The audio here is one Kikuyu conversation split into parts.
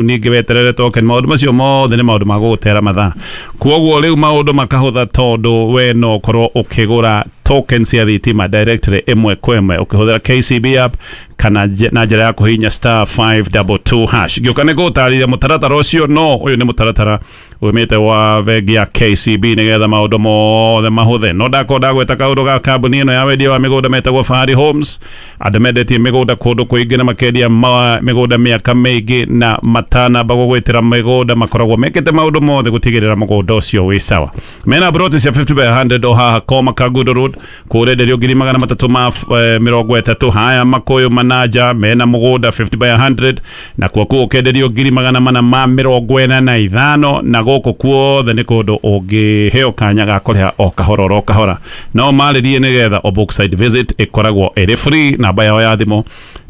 Ningĩ weterere token, maũndũ macio mothe nĩ maũndũ ma gũgũtera mathaa. Koguo rĩu maũndũ makahũtha tondũ we no ũkorwo ũkĩgũra token cia thitima directly ĩmwe kwa ĩmwe ũkĩhũthĩra KCB app kana na njĩra ya kũhihinya *522#. Ngĩũka nĩ gũtarĩria mũtaratara ũcio, no ũyũ nĩ mũtaratara umĩte wa bengi ya KCB nĩgetha maũndũ mothe mahũthe. No ndakorwo ndagweta kaũndũ ga kambuni ĩno ya wendia wa mĩgũnda metagwo Fahari Homes, andũ mendetie mĩgũnda kũndũ kũingĩ na makendia mĩgũnda mĩaka mĩingĩ na matanamba gũgwĩtĩra mĩgũnda makoragwo mekĩte maũndũ mothe gũtigĩrĩra mũgũnda ũcio wĩ sawa. Mena broti cia 50 by 100 o haha Koma Kangundo Road kũrenderio 330,000. Haya Makũyũ Manaja mena mũgũnda 50 by 100 na kuo kũu ũkenderio 445,000, na gũkũ kuothe nĩ kũndũ ũngĩheo kanya ga kũrĩha o kahora oro kahora. No marĩrie nĩgetha o book site visit ĩkoragwo ĩrĩ free. Namba yao ya thimũ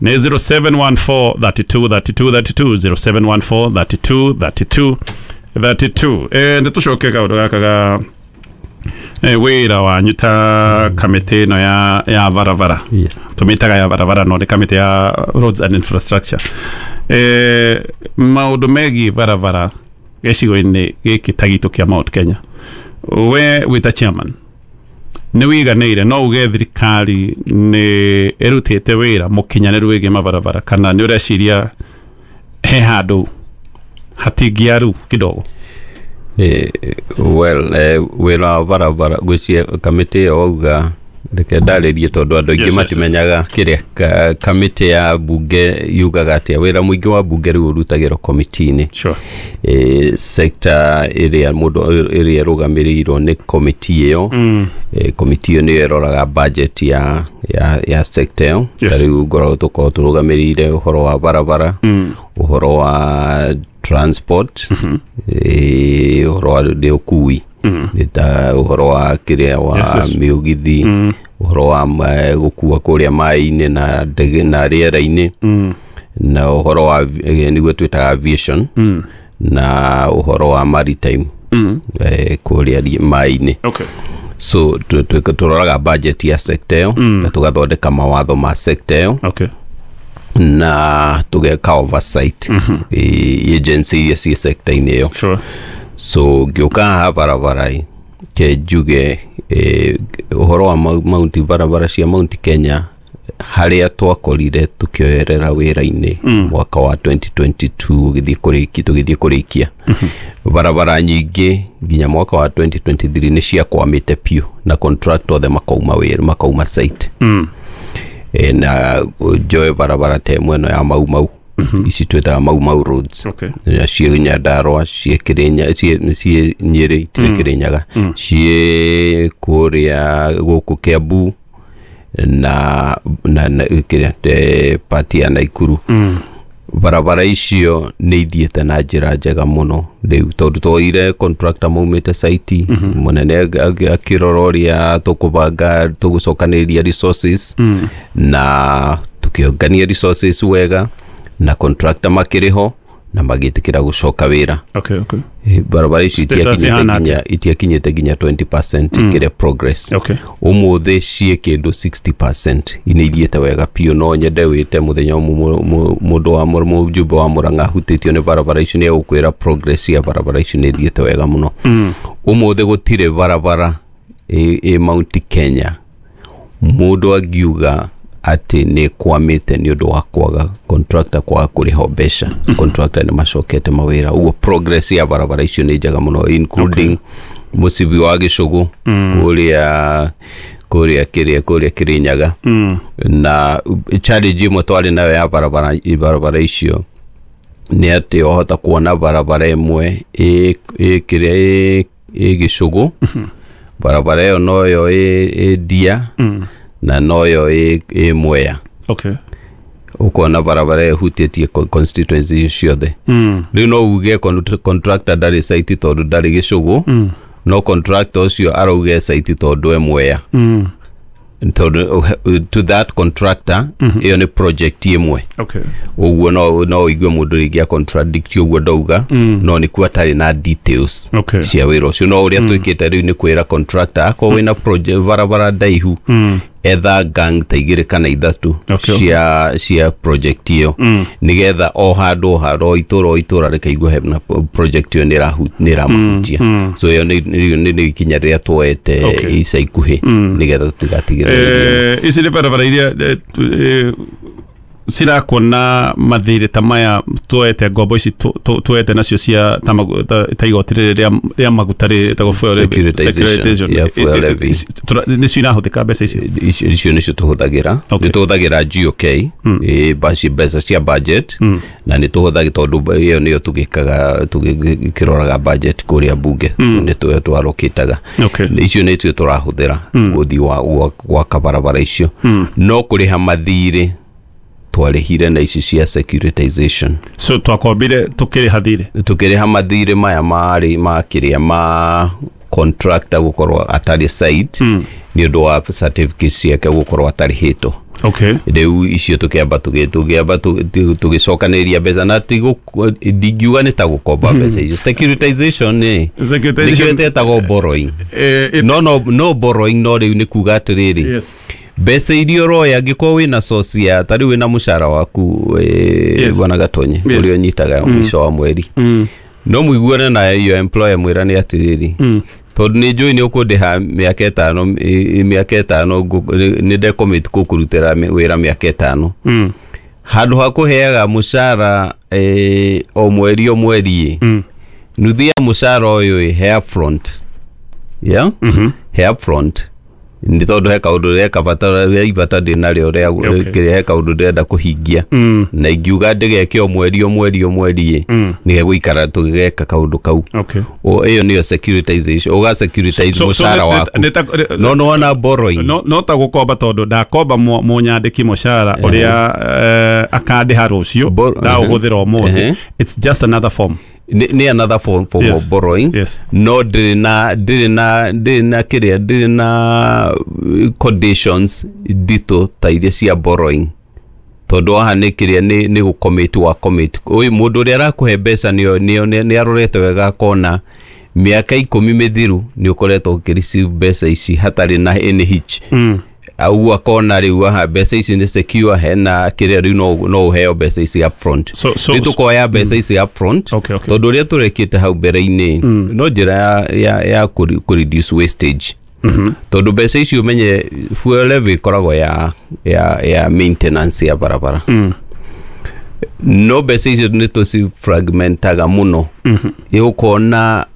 nĩ 0714 32 32 32, 0714 32 32 32. Nĩ tũcoke kaũndũ gaka ga wĩra wanyu ta kamĩtĩ ĩno ya barabara. Yes. Tũmĩtaga ya barabara no nĩ kamĩtĩ ya roads and infrastructure. Maũndũ megiĩ barabara gĩcigo-inĩ gĩkĩ ta gitũ kĩa Mount Kenya, we wĩta chairman nĩ wiganĩire no uge thirikari nĩ ĩrutĩte wĩra mũkinyanĩru wĩgiĩ mabarabara, kana nĩ ũreciria he handũ hatingiaru kidogo? Well, wĩra wa barabara gwĩcia kamĩtĩ ĩyo wauga, reke ndarĩrie tondũ andũ aingĩ matimenyaga kĩrĩa kamĩtĩ ya bunge yugaga atĩa. Wĩra mũingĩ wa bunge rĩu ũrutagĩrwo komiti-inĩ. Sector ĩrĩa mũndũ ĩrĩa ĩrũgamĩrĩirwo nĩ komiti ĩyo, komiti ĩyo nĩyo ĩroraga budget ya sector ĩyo. Ta rĩu ngoragwo tũkoragwo tũrũgamĩrĩire ũhoro wa barabara, ũhoro wa transport, ũhoro wa nĩ ũkui, nĩ ta ũhoro wa kĩrĩa wa mĩũgithi, ũhoro wa gũkua kũrĩa maĩ-inĩ na ndege na rĩera-inĩ, na ũhoro wa nĩguo twĩtaga aviation, na ũhoro wa maritime, kũrĩa maĩ-inĩ. So tũroraga budget ya sector ĩyo na tũgathondeka mawatho ma sector ĩyo na tũgeka oversight agency iria ciĩ sector-inĩ ĩyo. So ngĩũka haha barabara ĩ ke njuge ũhoro wa Mount barabara cia Mount Kenya harĩa twakorire tukĩoerera wĩra-inĩ mwaka wa 2022 ũgĩthiĩ kũrĩki tũgĩthiĩ kũrĩkia, barabara nyingĩ nginya mwaka wa 2023 nĩ ciakwamĩte piũ na contractor othe makauma wĩra, makauma site. Na njoe barabara ta ĩmwe ĩno ya Mau Mau, ici twĩtaga Mau Mau roads, na ciĩ Nyandarua, ciĩ Kĩrĩnya, ciĩ Nyĩrĩ, itirĩ Kĩrĩnyaga, ciĩ kũrĩa gũkũ Kiambu na kĩrĩa part ya Naikuru. Barabara icio nĩ ithiĩte na njĩra njega mũno rĩu tondũ twoire contractor maumĩte site, mũnene akĩrora ũrĩa tũkũbanga tũgũcokanĩrĩria resources, na tũkĩũngania resources wega na contractor makĩrĩ ho na magĩtĩkĩra gũcoka wĩra. Barabara icio Status itiakinyĩte ihana nginya itiakinyĩte nginya 20% kĩrĩa progress. Ũmũthĩ ciĩ kĩndũ 60%, nĩ ithiĩte wega piũ. No nyende wĩte mũthenya ũmwe mũndũ wa mũjumbe wa Mũrang'a ahutĩtio nĩ barabara icio nĩ egũkwĩra progress ya barabara icio nĩ ithiĩte wega mũno. Ũmũthĩ gũtirĩ barabara ĩ Mount Kenya mũndũ angiuga atĩ nĩ kwamĩte nĩ ũndũ wa kwaga contractor kwaga kũrĩhwo mbeca. Contractor nĩ macokete mawĩra, ũguo progress ya barabara icio nĩ njega mũno, including mũcibi wa Gĩcũgũ kũrĩa kĩrĩa kũrĩa Kĩrĩnyaga. Na challenge ĩmwe twarĩ nayo ya barabara icio nĩ atĩ wahota kuona barabara ĩmwe ĩ kĩrĩa ĩ Gĩcũgũ, barabara ĩyo noyo ĩ Ndia na noyo ĩ Mwea. Ũkona barabara ĩyo ĩhutĩtie constituency ciothe. Rĩu no uge contractor ndarĩ site tondũ ndarĩ Gĩcũgũ, no contractor ũcio arauge site tondũ e Mwea, tondũ to that contractor ĩyo nĩ project ĩmwe. Ũguo no ũigue mũndũ rĩngĩ a contradict ũguo ndauga, no nĩkuo atarĩ na details cia wĩra ũcio. No ũrĩa twĩkĩte rĩu nĩ kwĩra contractor akorwo wĩna project barabara ndaihu. Etha gang ta 2 kana 3 Okay. cia project ĩyo, nĩgetha o handũ o handũ o itũra o itũra rĩkaigua hena project ĩyo nĩramahutia. So ĩyo nĩ ikinya rĩrĩa tuoete ica ikuhĩ nĩgetha tũtigatigĩrĩre. Ici nĩ barabara iria cirakuona mathirĩ ta maya tuoete ngombo ici tuoete nacio cia ta igoti rĩrĩ rĩa maguta rĩtagwo fuel Securitization, yeah, fuel levy. Nĩcio irahũthĩka mbeca icio? Icio nĩcio tũhũthagĩra. Nĩ tũhũthagĩra GOK, mbeca cia budget, na nĩ tũhũthagĩra tondũ ĩyo nĩyo tũgĩkaga tũgĩkĩroraga budget kũrĩa bunge, nĩ twarokĩtaga. Icio nĩcio tũrahũthĩra gũthiĩ gwaka barabara icio, no kũrĩha mathirĩ twarĩhire na ici cia securitization. So twakombire tukĩrĩha thirĩ? Tukĩrĩha mathirĩ maya marĩ ma kĩrĩa ma contractor gũkorwo atarĩ site nĩ ũndũ wa certificate ciake gũkorwo atarĩhĩtwo. Rĩu icio tũkĩamba tũgĩcokanĩrĩria mbeca na ndingiuga nĩ ta gũkomba mbeca icio. Securitization nĩ nĩkĩo ĩtetagwo borrowing. No borrowing, no rĩu nĩ kuga atĩrĩrĩ, mbeca iria ũroya angĩkorwo wĩna source ya ta rĩu wĩna mũcara waku, bwana Gatonye, ũrĩa ũnyitaga mũico wa mweri, no mũiguane na your employer mwĩrane atĩrĩrĩ, tondũ nĩ njũĩ nĩ ũkũndĩha mĩaka ĩtano, nĩ ndecommit gũkũrutĩra wĩra mĩaka 5, handũ ha kũheaga mũcara o mweri o mweri, nuthu ya mũcara ũyũ he upfront. Yeah? He upfront nĩ tondũ he kaũndũ reka bata ibata ndĩ narĩo rĩa kĩrĩa he kaũndũ ndĩrenda kũhingia, na ingiuga ndĩgeke o mweri o mweri o mweri nĩgegũikara tũgĩgeka kaũndũ kau. Ĩyo nĩyo securitization, ũga securitize mũcara waku, no nĩwona borrowing. No ta gũkomba tondũ ndakomba mũnyandĩki mũcara ũrĩa akandĩha rũciũ ndaũhũthĩra ũmũthĩ. It's just another form. Ni another form of borrowing. No ndĩrĩ na kĩrĩa ndĩrĩ na conditions nditũ ta iria cia borrowing, tondũ haha nĩ kĩrĩa nĩ gũcommit wa commit. Ũyũ mũndũ ũrĩa arakũhe mbeca nĩ arorete wega akona mĩaka 10 mĩthiru nĩ ũkoretwo ũkĩreceive mbeca ici hatarĩ na any hitch. Au akona rĩu haha mbeca ici nĩ secure, hena kĩrĩa rĩu no ũheo mbeca ici upfront. Rĩu tũkoya mbeca ici upfront tondũ ũrĩa tũrekĩte hau mbere-inĩ no njĩra ya kũ reduce wastage, tondũ mbeca ici ũmenye fuel levy ĩkoragwo ya maintenance ya barabara, no mbeca icio nĩ tũcifragmentaga mũno. Ũkona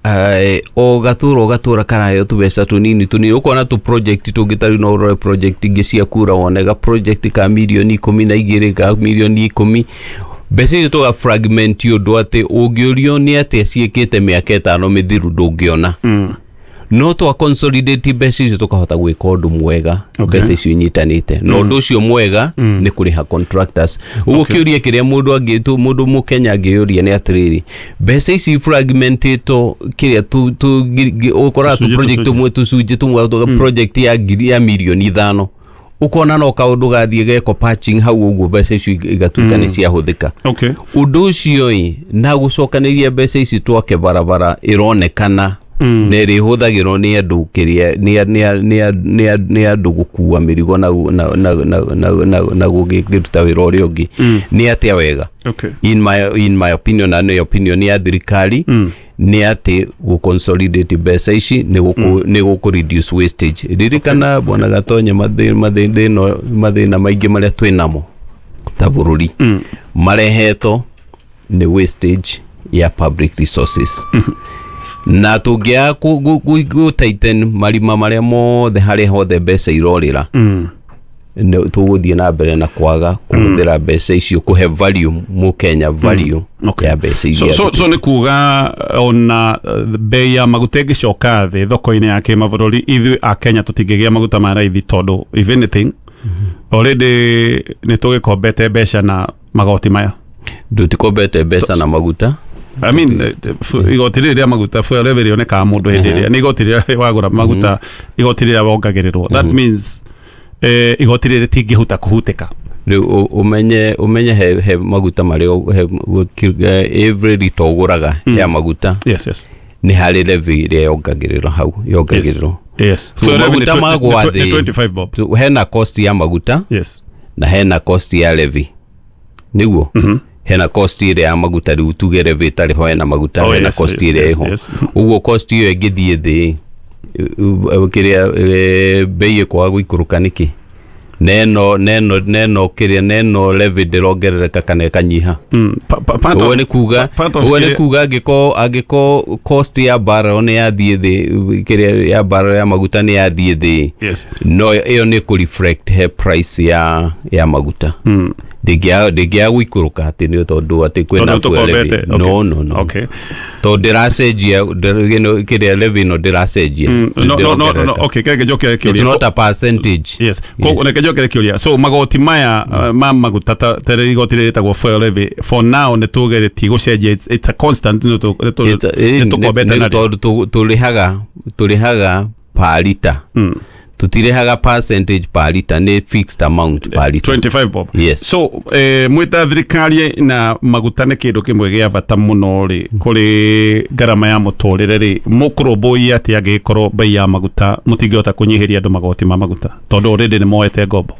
o gatũra karaheo tũbeca tũnini tũnini, ũkona tũ project tũngĩ ta rĩu no ũrore project ingĩ cia kura wone ga project ka mirioni 12 ka mirioni 10, mbeca icio tũga fragment ũndũ atĩ ũngĩũrio nĩ atĩa ciĩkĩte mĩaka 5 mĩthiru ndũngĩona. No twa consolidate mbeca icio tũkahota gwĩka ũndũ mwega mbeca icio inyitanĩte, na ũndũ ũcio mwega nĩ kũrĩha contractors. Ũguo kĩũria kĩrĩa mũndũ mũkenya angĩũria nĩ atĩrĩrĩ, mbeca ici fragmentĩtwo kĩrĩa ũkoraga tũ project tũmwe tũcunjĩ tũmwe, project ya ngiri ya mirioni 5, ũkona no kaũndũ gathiĩ geko patching hau ũguo mbeca icio igatuĩka nĩ ciahũthĩka. Ũndũ ũcio na gũcokanĩria mbeca ici twake barabara ĩronekana nä rä hå thagä rwo nä andå kä rä a nä andå gå kua mä rigo na gå gä ruta wä ra å rä a å ngä nä atä a wega. In my opinion, na nä opinion ya thirikari, nä atä gå consolidate mbeca ici nä gå reduce wastage. Ririkana bwana Gatonye, mathĩna maingĩ marĩa twĩ namo ta bũrũri marehetwo nĩ wastage ya public resources. Na tũngĩaga gũtighten marima marĩa mothe harĩa hothe mbeca irorĩra, tũgũthiĩ na mbere na kwaga kũhũthĩra mbeca icio kũhe value mũkenya value ya mbeca iria. So nĩ kuga ona bei ya maguta ĩngĩcoka thĩ thoko-inĩ ya kĩmabũrũri, ithuĩ a Kenya tũtingĩgĩa maguta ma raithi tondũ if anything already nĩ tũgĩkombete mbeca na magoti maya. Ndũtikombete mbeca na maguta. I mean, igoti rĩrĩ rĩa maguta fuel levy rĩonekaga mũndũ hĩndĩ ĩrĩa nĩ igoti rĩrĩa wagũra maguta, igoti rĩrĩa wongagĩrĩrwo. That means igoti rĩrĩ rĩtingĩhuta kũhutĩka. Rĩu ũmenye he maguta marĩa every liter ũgũraga ya maguta. Yes. Nĩ harĩ levy ĩrĩa yongagĩrĩrwo hau, yongagĩrĩrwo. Yes. So, maguta magwa nĩ thĩ 25 bob. Hena cost ya maguta. Yes. Na hena cost ya levy, nĩguo hena cost ĩrĩa ya maguta, rĩu tuge levy ĩtarĩ ho, hena maguta, Oh, hena yes, cost yes, ĩrĩa ĩho. Ũguo cost ĩyo ĩngĩthiĩ thĩ, kĩrĩa bei ĩkwaga gũikũrũka nĩkĩ? Neno kĩrĩa neno levy ndĩrongerereka kana ĩkanyiha. Ũguo nĩ kuga, ũguo nĩ kuga angĩkorwo cost ya barrel nĩ yathiĩ thĩ, kĩrĩa ya barrel ya maguta nĩ yathiĩ thĩ, Yes. no ĩyo nĩ kũ reflect he price ya maguta. Ndĩngĩaga gũikũrũka atĩ nĩ tondũ atĩ kwĩna Tondũ fuel levy. tũkombete. Okay. No. Okay. Tondũ ndĩracenjia kĩrĩa levy ĩno ndĩracenjia. No. Okay, kege njoke It's kĩũria. not a percentage. Yes. Koguo reke njokere kĩũria. So magoti maya ma maguta ta rĩrĩa igoti rĩrĩ rĩtagwo fuel levy, for now nĩ tuge rĩtigũcenjia, it's a constant, nĩ tũkombete narĩo. Tondũ tũrĩhaga per liter, tũtirĩhaga percentage per liter, nĩ fixed amount per liter. 25 bob. Yes. So mwĩta thirikari na maguta nĩ kĩndũ kĩmwe gĩa bata mũno rĩ kũrĩ ngarama ya mũtũrĩre rĩ, mũkũrũmbũiya atĩ angĩkorwo bei ya maguta mũtingĩhota kũnyihĩria andũ magoti ma maguta tondũ already nĩ moete ngombo?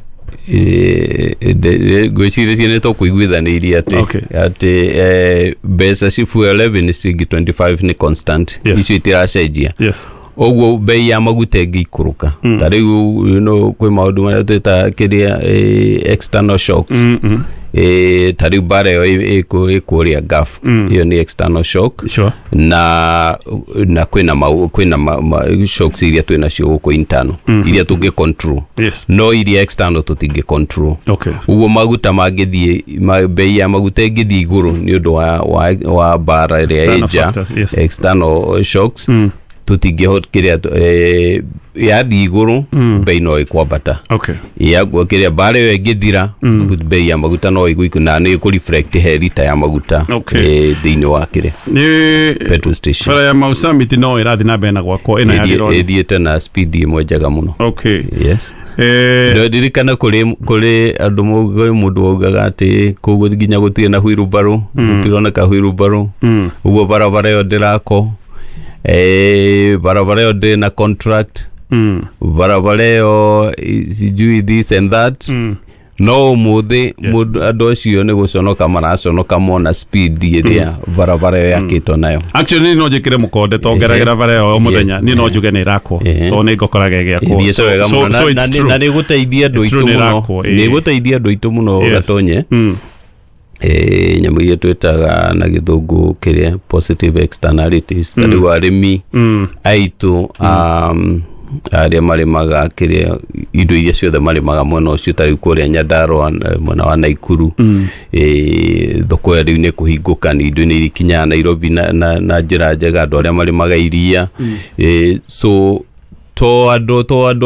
Ngwĩcirĩtie nĩ tũkũiguithanĩirie atĩ Okay. atĩ mbeca ci fuel levy nĩ ciringi 25, nĩ constant. Yes. Icio itiracenjia. Yes. Ũguo bei ya maguta ĩngĩikũrũka ta rĩu, kwĩ maũndũ marĩa twĩtaga kĩrĩa external shocks. Ta rĩu mbara ĩyo ĩkũrĩa Gulf, ĩyo nĩ external shock. Sure. Na kwĩna shocks iria twĩnacio gũkũ internal iria tũngĩ control. Yes. No iria external tũtingĩ control. Okay. Ũguo maguta mangĩthiĩ bei ya maguta ĩngĩthiĩ igũrũ nĩ ũndũ wa mbara ĩrĩa External ĩ nja, factors, yes. external shocks, tũtingĩhota kĩrĩa yathiĩ igũrũ, bei no ĩkwambata. Okay. Yaguo kĩrĩa mbara ĩyo ĩngĩthira, bei ya maguta no ĩgũikũ na nĩ ĩkũ reflect he rita ya maguta Okay. thĩinĩ wa kĩrĩa Nĩ petrol station. bara ya Mau Summit no ĩrathiĩ na mbere na gwakwo ĩno ya Rironi? Ĩthiĩte na speed ĩmwe njega mũno. Okay. Yes. Ndirikana kũrĩ andũ kũrĩ mũndũ waugaga atĩ kũu nginya gũtirĩ na wheelbarrow, gũtironeka wheelbarrow, ũguo barabara ĩyo ndĩrakwo, barabara ĩyo ndĩrĩ na contract, barabara ĩyo sijui this and that. No ũmũthĩ mũndũ andũ acio nĩ gũconoka maraconoka mona speed ĩrĩa barabara ĩyo yakĩtwo nayo. Actually no njĩkĩre mũkonde tongeragira bara ĩyo o mũthenya, niĩ no njuge nĩ ĩrakwo tondũ nĩ ngokoraga ĩgĩakwo. Ĩthiĩte wega mũno So it's true. na nĩ ĩgũteithia andũ It's true, aitũ nĩ mũno. ĩrakwo, Nĩ ĩgũteithia andũ aitũ mũno. Yes. Gatonye nyamũ iria twĩtaga na gĩthũngũ kĩrĩa positive externalities, ta rĩu arĩmi aitũ, arĩa marĩmaga kĩrĩa indo iria ciothe marĩmaga mwena ũcio, ta rĩu kũrĩa Nyandarua, mwena wa Naikuru, thoko ĩyo rĩu nĩ kũhingũka, nĩ indo nĩ ikinyaga Nairobi na njĩra njega, andũ arĩa marĩmaga iria. So to andũ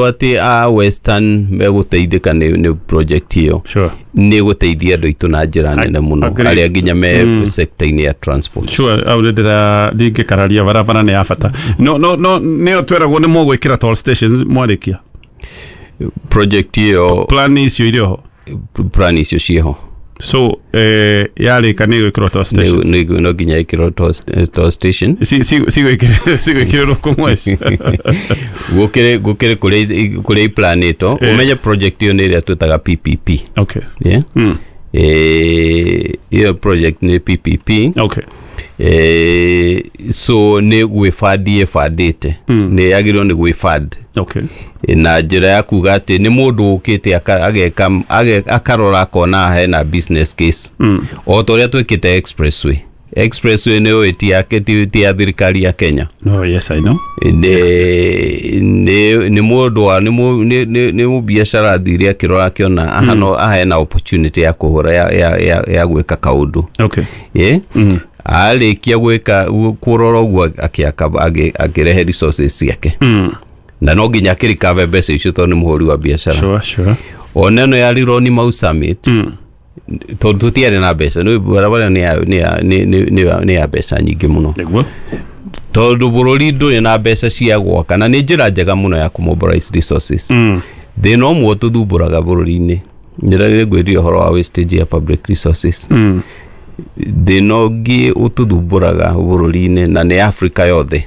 atĩ a western megũteithĩka nĩ project ĩyo. Sure. Nĩ gũteithia andũ aitũ na njĩra nene mũno, Agree. arĩa nginya me sector-inĩ ya transport. Sure, au nĩ ndĩra ndingĩkararia, barabara nĩ ya bata, no nĩyo tweragwo nĩ mũgwĩkĩra toll stations mwarĩkia Project ĩyo. Plan icio irĩ oho? Plan icio ciĩho. So yarĩka nĩ ĩgwĩkĩrwo toll stations? No nginya ĩkĩrwo toll station. Cigwĩkĩrĩrwo kũ mweci? Gũkĩrĩ kũrĩa iplanĩtwo. Ũmenye project ĩyo nĩ ĩrĩa twĩtaga PPP. Okay. Yeah? Ĩyo project nĩ PPP. Okay. So nĩ gwĩbandi ĩbandĩte, nĩ yagĩrĩirwo nĩ gwĩband Okay. na njĩra ya kuga atĩ nĩ mũndũ ũkĩte akarora akona hena business case, o ta ũrĩa twĩkĩte expressway. Expressway nĩ ũĩ ti ya thirikari ya Kenya. No, yes, I know. Nĩ mũndũ wa nĩ mũ- nĩ- nĩ nĩ mũbiacara athire akĩrora akĩona aha no aha hena opportunity ya kũhũra ya gwĩka kaũndũ. Okay. Yeah? Arĩkia gwĩka kũrora ũguo akĩaka akĩrehe resources ciake, na no nginya akĩrikave mbeca icio tondũ nĩ mũhũri wa biacara. Sure. Ona ĩno ya Rironi Mau Summit, tondũ tũtiarĩ na mbeca, nĩ barabara nĩ ya mbeca nyingĩ mũno. Nĩguo. Tondũ bũrũri ndũrĩ na mbeca cia gwaka, na nĩ njĩra njega mũno ya kũmobilize resources. Thĩna ũmwe tũthumbũraga bũrũri-inĩ, njĩra ngwĩrire ũhoro wa wastage ya public resources, thĩna ũngĩ ũtũthumbũraga bũrũri-inĩ na nĩ Africa yothe.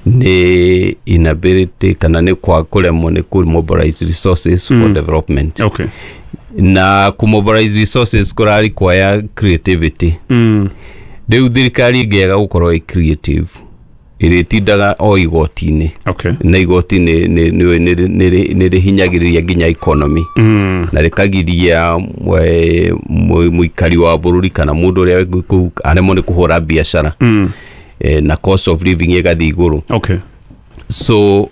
Nĩ inability kana nĩ kwa kũremwo nĩ kũ mobilize resources for development. Na kũ mobilize resources kũra require creativity. Rĩu thirikari ĩngĩaga gũkorwo ĩ creative, ĩrĩtindaga o igoti-inĩ. Na igoti nĩ rĩhinyagĩrĩria nginya economy na rĩkagiria mũikari wa bũrũri kana mũndũ ũrĩa wĩ kũu aremwo nĩ kũhũra biacara, na cost of living ĩgathiĩ igũrũ. So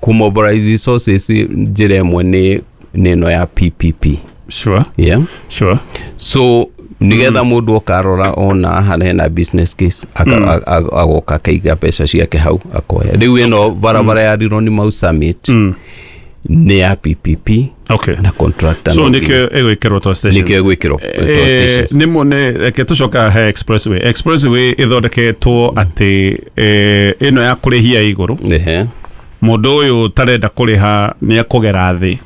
kũ mobilize resources, njĩra ĩmwe nĩ ĩno ya PPP. Yeah. So nigetha mũndũ oka arora ona haha hena business case, agoka akaiga mbeca ciake hau, akoya. Rĩu ĩno barabara ya Rironi Mau Summit nĩ ya PPP na contractor So no nĩkĩo ĩgwĩkĩrwo toll stations. Nĩkĩo ĩgwĩkĩrwo toll stations. Nĩ mo nĩ reke tũcoka he expressway. Expressway ĩthondeketwo atĩ ĩno ya kũrĩhia igũrũ, mũndũ ũyũ tarenda kũrĩha nĩ ekũgera thĩ.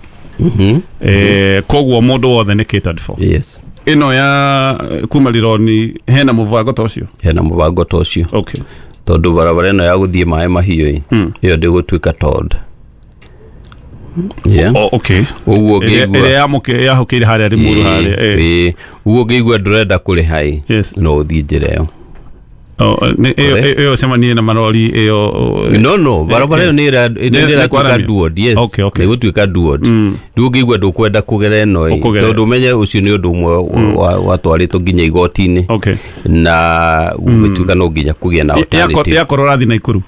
Koguo mũndũ wothe nĩ catered for. Yes. Ĩno ya kuma Rironi hena mũbango ta ũcio? Hena mũbango ta ũcio, tondũ barabara ĩno ya gũthiĩ Maĩ Mahiũ ĩ, ĩyo ndĩgũtuĩka tolled, yeah. Oh, okay. Ũguo Ĩrĩa ũngĩigua ĩrĩa yahũkĩire harĩa Limuru harĩa. Ĩĩ, ũguo ũngĩigua ndũrenda kũrĩha ĩ, no ũthiĩ njĩra ĩyo. Oh, ĩyo cemanie na marori ĩyo? No, barabara ĩyo nĩ Nĩ ĩratuĩka kwaramio? duod, yes. Okay. Nĩ gũtuĩka duod. Rĩu ũngĩigua ndũkwenda kũgera ĩno ĩ, Ũkũgera. tondũ ũmenye ũcio nĩ ũndũ ũmwe watwarĩtwo nginya igoti-inĩ na gũgĩtuĩka no nginya kũgĩe na alternative. Yakorwo ũrathiĩ Naikuru,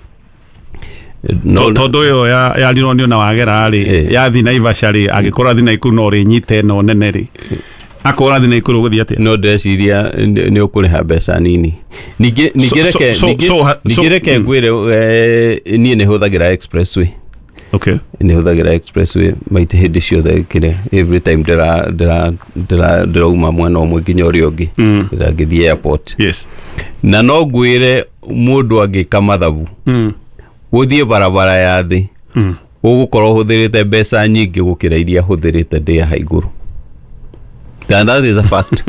No, tondũ ĩyo ya Rironi ona wagera rĩ, yathi Naivasha rĩ, angĩkorwo ũrathiĩ Naikuru no ũrĩnyite ĩno nene rĩ, akorwo ũrathiĩ Naikuru ũgũthiĩ atĩa? No ndĩreciria nĩ ũkũrĩha mbeca nini. Ningĩ reke ningĩ reke ngwĩre, niĩ nĩ hũthagĩra expressway. Nĩ hũthagĩra expressway maita hĩndĩ ciothe, kĩrĩa every time ndĩrauma mwena ũmwe nginya ũrĩa ũngĩ, ndĩrangĩthiĩ airport. Na no ngwĩre mũndũ angĩka mathabu, gũthiĩ barabara ya thĩ, ũgũkorwo ũhũthĩrĩte mbeca nyingĩ gũkĩra iria hũthĩrĩte ndĩ haha igũrũ. And that is a fact.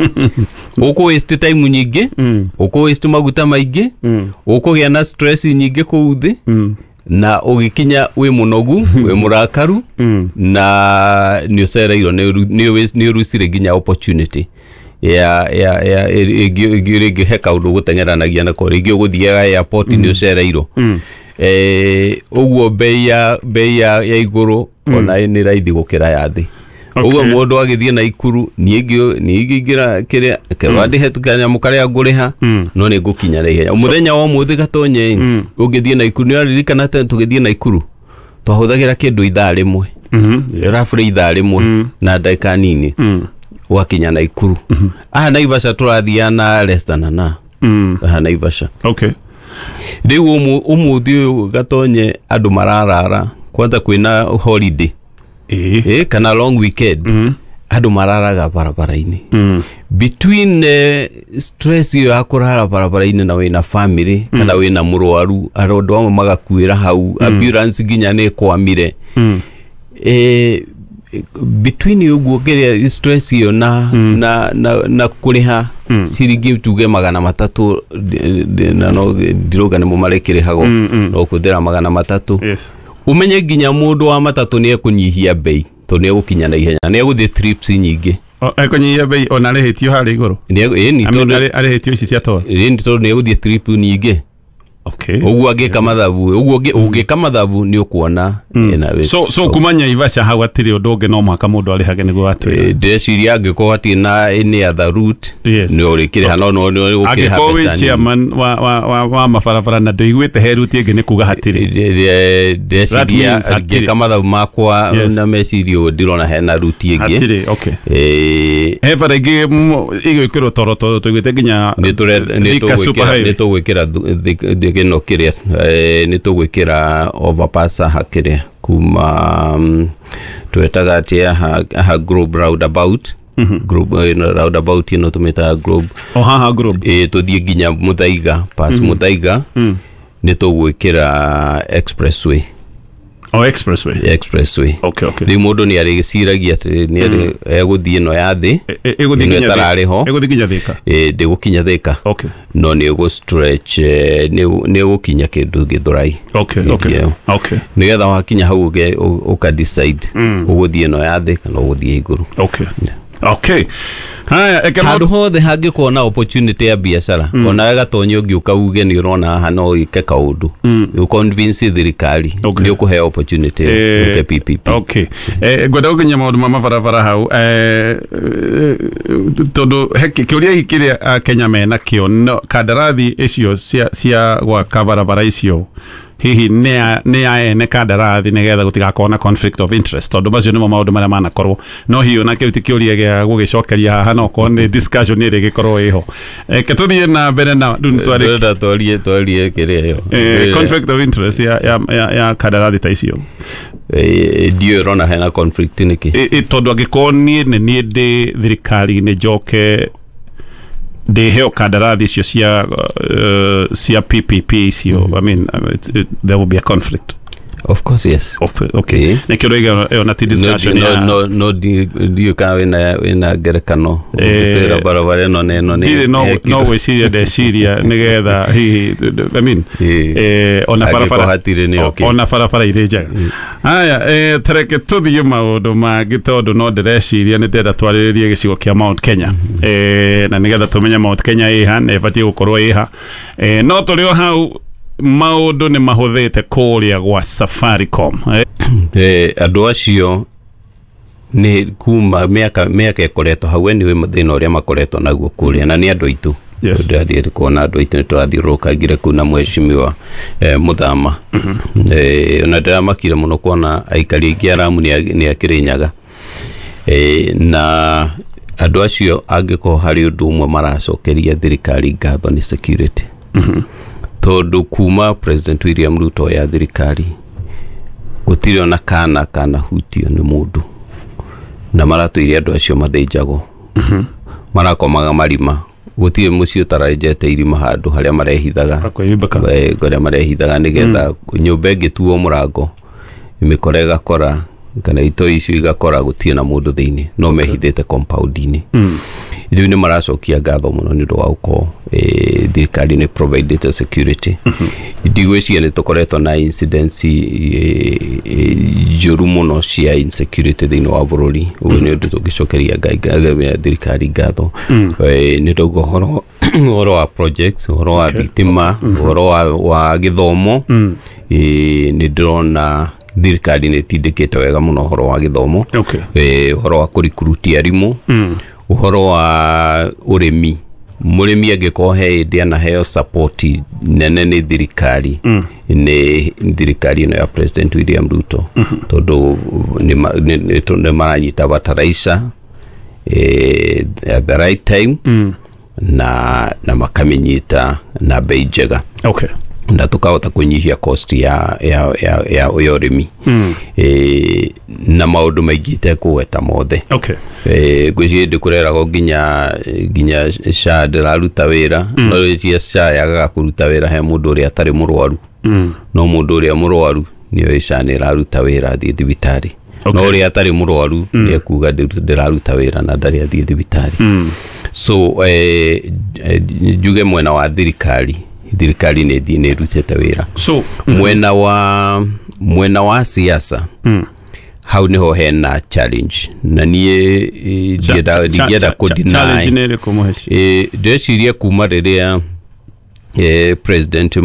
Ũkũ waste time nyingĩ, ũkũ waste maguta maingĩ, ũkũgĩa na stress nyingĩ kũu thĩ, na ũgĩkinya wĩ mũnogu, wĩ mũrakaru, na nĩ ũcereirwo, nĩ ũrucire nginya opportunity ya ĩngĩ rĩngĩ he kaũndũ ũgũteng'eranagia nako, rĩngĩ ũgũthiaga airport nĩ ũcereirwo. Ũguo bei ya igũrũ ona nĩ raithi gũkĩra ya thĩ. Ũguo mũndũ agĩthiĩ Naikuru, niĩ ingĩingĩra kĩrĩa keba ndĩhe kanyamũ karĩa ngũrĩha, no nĩ ngũkinya na ihenya. Mũthenya wa ũmũthĩ, Gatonye, ũngĩthiĩ Naikuru, nĩ ũraririkana tene tũgĩthiĩ Naikuru twahũthagĩra kĩndũ ithaa rĩmwe, roughly ithaa rĩmwe na ndagĩka nini ũgakinya Naikuru. Aha Naivasha tũrathiaga na less than an hour. Aha Naivasha. Rĩu ũmũthĩ ũyũ, Gatonye, andũ mararara kwanza kwĩna holiday kana long weekend, andũ mararaga barabara-inĩ. Between stress ĩyo ya kũrara barabara-inĩ na wĩna family kana wĩna mũrwaru, andũ amwe magakuĩra hau, ambulance nginya nĩ ĩkwamire, between ũguo kĩrĩa stress ĩyo na kũrĩha ciringi tuge 300, na no ndirauga nĩmo marĩkĩrĩhagwo, no kũhũthĩra 300. Ũmenye nginya mũndũ wa matatũ nĩ ekũnyihia bei tondũ nĩ egũkinya na ihenya, nĩ egũthiĩ trips nyingĩ. Ekũnyihia bei ona arĩhĩtio harĩa igũrũ? Ĩni. I mean, Tondũ arĩhĩtio ici cia toll? Ĩni, tondũ nĩ egũthiĩ trip nyingĩ. Ũguo angĩka mathabu, ũguo ũngĩka mathabu nĩ ũkuona ĩna So kuma Naivasha hau hatirĩ ũndũ ũngĩ no mũhaka mũndũ arĩhage nĩguo atwĩra? Ndĩreciria angĩkorwo hatirĩ na any other route, nĩ ũrĩkĩrĩha, no nĩ ũgũkĩrĩha Angĩkorwo wĩ mbeca nini. chairman wa mabarabara na ndũiguĩte he route ĩngĩ, nĩ kuga hatirĩ. That Ndĩreciria means hatirĩ. ngĩka mathabu makwa na meciria ũguo, ndirona hena route ĩngĩ. Hatirĩ, okay. He bara ĩngĩ ĩgwĩkĩrwo toro tondũ tũiguĩte nginya Thika Super Highway. Nĩ tũgwĩkĩra gĩno kĩrĩa, nĩ tũgwĩkĩra overpass haha kĩrĩa kuma twetaga atĩ haha Globe roundabout, Globe, ĩno roundabout ĩno tũmĩtaga Globe. O haha Globe? Ĩ, tũthiĩ nginya Muthaiga, pass Muthaiga, nĩ tũgwĩkĩra expressway. Oh, expressway. Expressway. Okay, okay. Rĩu mũndũ nĩ arĩciragia atĩrĩ nĩ egũthiĩ ĩno ya thĩ Ĩgũthiĩ ĩno nginya ĩtararĩ ho. Ĩgũthiĩ nginya Thika. Ndĩgũkinya Thika. Okay. No nĩ ĩgũ stretch, nĩ ĩgũkinya kĩndũ Gĩthũrai. Okay, okay. Ĩyo. Okay. Nĩgetha wakinya hau ũka decide ũgũthiĩ ĩno ya thĩ kana ũgũthiĩ igũrũ. Okay. Okay. Haya, eke Handũ hothe hangĩkorwo na opportunity ya biacara, onawe gatonyo ũngĩũka uge nĩ ũrona haha no wĩke kaũndũ, ũconvince thirikari Okay. nĩ ũkũheo opportunity ũke PPP. Okay. Ngwenda gũkinyia maũndũ ma mabarabara hau, tondũ he kĩũria gĩkĩ kĩrĩa Akenya mena kĩo no kandarathi icio cia gwaka barabara icio hihi nĩ ya ene kandarathi nĩgetha gũtigakorwo na conflict of interest, tondũ macio nĩmo maũndũ marĩa manakorwo no hihi ona kĩu ti kĩũria gĩa gũgĩcokeria haha, no korwo nĩ discussion ĩrĩ ĩgĩkorwo ĩho. Reke tũthiĩ na mbere na rĩu nĩ twarĩ Ndĩrenda twarie kĩrĩa ĩyo. Conflict of interest ya kandarathi ta icio. Ndiũĩ ũrona hena conflict nĩkĩ? Tondũ angĩkorwo niĩ nĩ niĩ ndĩ thirikari-inĩ njoke ndĩheo kandarathi icio cia PPP icio, I mean, there will be a conflict. Of course, yes. Okay. Nĩkĩo ndauga ĩyo na ti discussion ya No, ndiũĩ kana wĩna ngerekano ũngĩtwĩra barabara ĩno na ĩno nĩ ndirĩ, no yekirwo. no gwĩciria ndeciria nĩgetha hihi, I mean, ona Angĩkorwo barabara hatirĩ nĩ okay. Ona barabara irĩ njega. Haya, tareke tũthiĩ maũndũ mangĩ tondũ no ndĩreciria nĩ ndĩrenda twarĩrĩrie gĩcigo kĩa Mount Kenya, na nĩgetha tũmenye Mount Kenya ĩha na ĩbatiĩ gũkorwo ĩha. No tũrĩ o hau maũndũ nĩ mahũthĩte kũrĩa gwa Safaricom. Andũ acio nĩ kuma mĩaka ĩkoretwo hau, anyway thĩna ũrĩa makoretwo naguo kũrĩa, na nĩ andũ aitũ. Yes. Ndĩrathiĩ kuona andũ aitũ, nĩ tũrathiũrũrũkangire kũu na mheshimiwa Mũthama. Ona ndĩramakire mũno kuona aikari aingĩ a Lamu nĩ a Kĩrĩnyaga. Na andũ acio angĩkorwo harĩ ũndũ ũmwe maracokeria thirikari ngatho nĩ security. Tondũ kuma President William Ruto ya thirikari gũtirĩ ona kana kanahutio nĩ mũndũ, na maratũire andũ acio mathĩnjagwo, marakomaga marima, gũtirĩ mũciĩ ũtarenjete irima handũ harĩa marehithaga. Kwĩyumbĩka. Kũrĩa marehithaga nĩgetha nyũmba ĩngĩtuo mũrango mĩkora ĩgakora kana itoi icio igakora gũtirĩ na mũndũ thĩinĩ, no mehithĩte compound-inĩ. Rĩu nĩ maracokia ngatho mũno nĩ ũndũ wa gũkorwo thirikari nĩ provided security. Ndigwĩciria nĩ tũkoretwo na incidents njũru mũno cia insecurity thĩinĩ wa bũrũri, ũguo nĩ ũndũ tũngĩcokeria Ngai thirikari ngatho. Nĩ ndauga ũhoro wa projects, ũhoro wa thitima, ũhoro wa gĩthomo. Nĩ ndĩrona thirikari nĩ ĩtindĩkĩte wega mũno ũhoro wa gĩthomo. Okay. Ũhoro wa kũrikuruti arimũ, ũhoro wa ũrĩmi. Mũrĩmi angĩkorwo he hĩndĩ anaheo support nene nĩ thirikari, nĩ thirikari ĩno ya President William Ruto, tondũ nĩ maranyita fertilizer at the right time, na makamĩnyita na bei njega. Okay. Na tukahota kũnyihia cost ya ũrĩmi. Na maũndũ maingĩ itekũgweta mothe. Okay. Ngwĩciria hĩndĩ kũreragwo nginya SHA ndĩraruta wĩra, no ngwĩciria SHA yagaga kũruta wĩra he mũndũ ũrĩa atarĩ mũrwaru. No mũndũ ũrĩa mũrwaru nĩoĩ SHA nĩ ĩraruta wĩra athiĩ thibitarĩ. Okay. No ũrĩa atarĩ mũrwaru nĩ ekuga ndĩraruta wĩra na ndarĩ athiĩ thibitarĩ. So njuge mwena wa thirikari nĩ nĩ ĩrutĩte wĩra. So mwena wa siasa, hau niho hena challenge, na niĩ ndingĩenda kũ challenge deny. nĩ ĩrĩkũ mũheci? Ndĩreciria kuma rĩrĩa president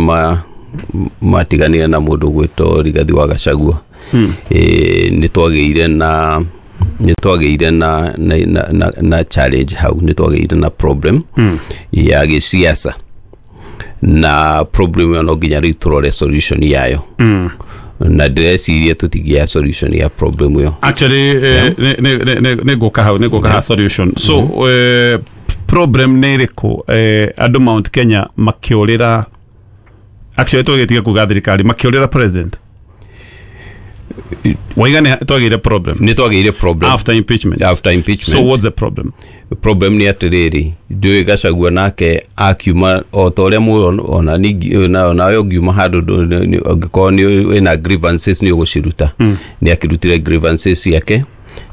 matiganire na mũndũ ũgwĩtwo Rigathi wa Gachagua, nĩ twagĩire na challenge hau, nĩ twagĩire na problem ya gĩsiasa, na problem ĩyo no nginya rĩu tũrore solution yayo. Na ndĩreciria tũtigĩa solution ya problem ĩyo. Actually, nĩ ngũka hau, nĩ ngũka ha solution. So problem nĩ ĩrĩkũ? Andũ Mount Kenya makĩũrĩra, actually tũgĩtiga kuga thirikari, makĩũrĩra president. Waiga nĩ twagĩire problem. Nĩ twagĩire problem after impeachment. After impeachment. So what's the problem? Problem nĩ atĩrĩrĩ, ndũĩ Gachagua nake akiuma o ta ũrĩa mũĩ ona nawe ũngiuma handũ ũngĩkorwo nĩ wĩna grievances nĩ ũgũciruta. Nĩ akĩrutire grievances ciake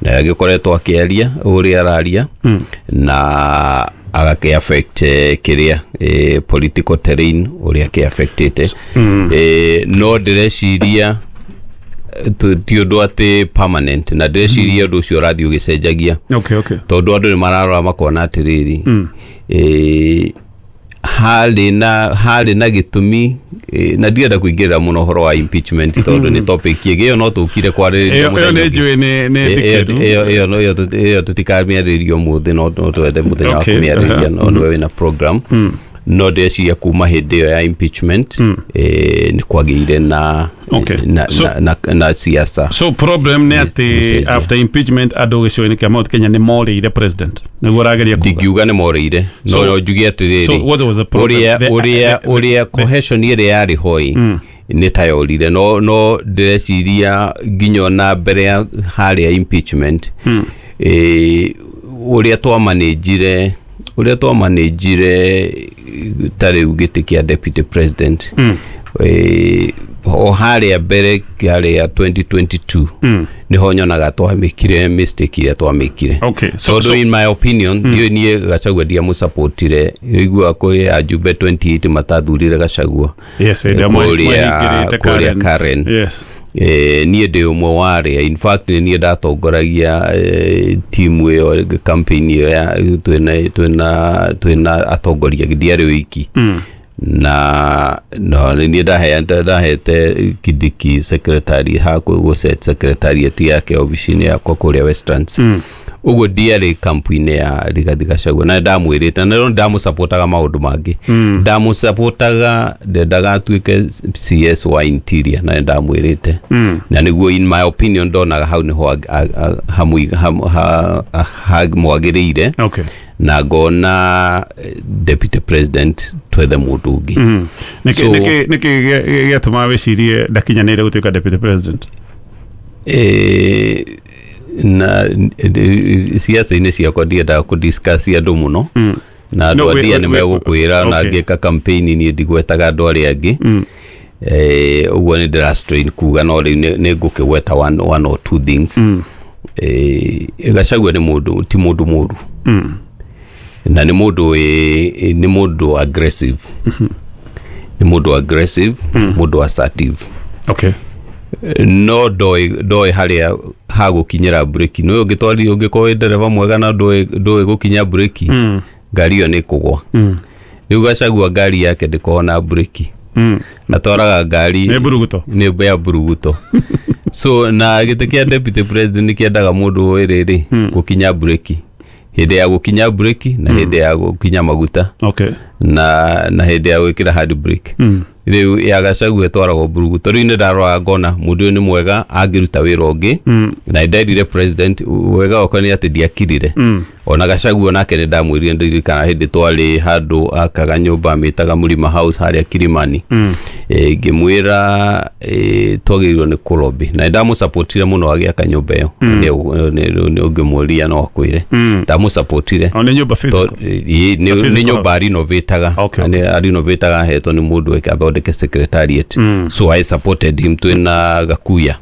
na agĩkoretwo akĩaria ũrĩa araria na agakĩ affect kĩrĩa political terrain ũrĩa kĩ affectĩte. No ndĩreciria ti ũndũ atĩ permanent, na ndĩreciria ũndũ ũcio ũrathiĩ ũgĩcenjagia. Okay. Tondũ andũ nĩ mararora makona atĩrĩrĩ, harĩ na gĩtũmi, na ndirenda kũingĩrĩra mũno ũhoro wa impeachment tondũ nĩ topic ĩngĩ ĩyo no tũkire kwarĩrĩria mũthenya. Ĩyo nĩ njũĩ nĩ ndikĩru. Ĩyo tũtikamĩarĩrĩria ũmũthĩ, no twethe mũthenya wa kũmĩarĩrĩria, no nĩwe wĩna program. No ndĩreciria kuma hĩndĩ ĩyo ya impeachment nĩ kwagĩire na na siasa. So problem nĩ atĩ after impeachment andũ gĩcigo-inĩ kĩa Mount Kenya nĩ morĩire president, nĩguo ũrageria kuga? Ndingiuga nĩ morĩire, no njuge atĩrĩrĩ, so what was the problem? Ũrĩa cohesion ĩrĩa yarĩ hoi nĩ ta yorire, no ndĩreciria nginya ona mbere ya harĩa impeachment ũrĩa twamanĩnjire ta rĩu gĩtĩ kĩa deputy president o harĩa mbere harĩa 2022 nĩho nyonaga twamĩkire mistake ĩrĩa twamĩkire. Okay, so in my opinion niĩ Gachagua ndiamũsupportire. Iguaga kũrĩ ajumbe 28 matathurire Gachagua. Yes, kũrĩa Karen. Yes. Niĩ ndĩ ũmwe wa arĩa, in fact niĩ ndatongoragia timu ĩyo, campaign ĩyo ya twĩna atongoria, ndiarĩ wiki. Na no niĩ ndahete Kindiki secretary gũset secretariat yake obici-inĩ yakwa kũrĩa Westlands. Ũguo ndiarĩ kampu-inĩ ya Rigathi Gachagua, na ndamwĩrĩte na ndamũsupportaga maũndũ mangĩ. Ndamũsupportaga ndendaga atuĩke CS wa Interior, na ndamwĩrĩte. Na nĩguo in my opinion ndonaga hau nĩho hamwagĩrĩire. Okay. Na ngona deputy president twethe mũndũ ũngĩ. Nĩkĩ gĩatũmaga wĩcirie ndakinyanĩire gũtuĩka deputy president? Na siasa-inĩ ciakwa ndiendaga kũdiscuss andũ mũno, na andũ arĩa nĩ megũkwĩra, na ngĩka campaign niĩ ndigwetaga andũ arĩa angĩ. Ũguo nĩ ndĩra strain kuga, no rĩu nĩ ngũkĩgweta one or two things. Gachagua nĩ mũndũ, ti mũndũ mũru, na nĩ mũndũ aggressive. Nĩ mũndũ aggressive, mũndũ assertive. Okay. No ndoĩ harĩa hagũkinyĩra breki. Nĩ ũngĩtwarithia, ũngĩkorwo wĩ ndereba mwega na ndũĩ gũkinya breki, ngari ĩyo nĩ ĩkũgwa. Rĩu Gachagua ngari yake ndĩkoragwo na breki. Atwaraga ngari nĩ mburuguto, nĩ ya mburuguto. So na gĩtĩ kĩa deputy president nĩ kĩendaga mũndũ ũĩ rĩrĩ gũkinya breki, hĩndĩ ya gũkinya breki na hĩndĩ ya gũkinya maguta. Okay. Na hĩndĩ ya gwĩkĩra hand brake. Rĩu ya Gachagua ĩtwaragwo mburuguto. Rĩu nĩ ndaroraga ngona mũndũ ũyũ nĩ mwega angĩruta wĩra ũngĩ, na ndendirire president. Wega wakwa nĩ atĩ ndiakirire. Ona Gachagua nake nĩ ndamwĩrire, ndirikana hĩndĩ twarĩ handũ akaga nyũmba mĩtaga Mlima House harĩa Kilimani, ngĩmwĩra twagĩrĩirwo nĩ kũlobby, na ndamũsupportire mũno agĩaka nyũmba ĩyo. Nĩ ũngĩmũria no akwĩre ndamũsupportire. Nĩ nyũmba physical? Nĩ nyũmba arinovĩtaga. Arinovĩtaga ahetwo nĩ mũndũ athondeke secretariat. So I supported him twĩna Gakuya.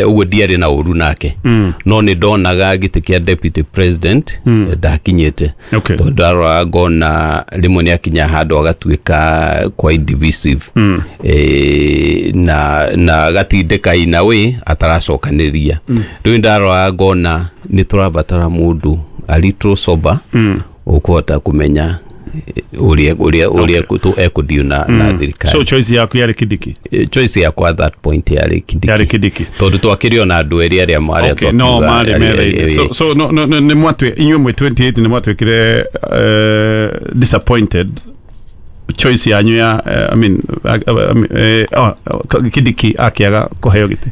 Ũguo ndiarĩ na ũru nake, no nĩ ndonaga gĩtĩ kĩa deputy president ndakinyĩte. Tondũ ndaroraga ngona rĩmwe nĩ akinya handũ agatuĩka quite divisive, na agatindĩka in a way ataracokanĩria. Rĩu ndaroraga ngona nĩ tũrabatara mũndũ a little sober, ũkũhota kũmenya ũrĩa ekũdeal na thirikari. So choice yaku yarĩ Kindiki? Choice yakwa at that point yarĩ Kindiki. Tondũ twakĩrĩ ona andũ erĩ arĩa marĩa no marĩ metha-inĩ. So no nĩ mwatwĩ inyuĩ mwĩ 28 nĩ mwatuĩkire disappointed choice yanyu ya I mean Kindiki akĩaga kũheo gĩtĩ.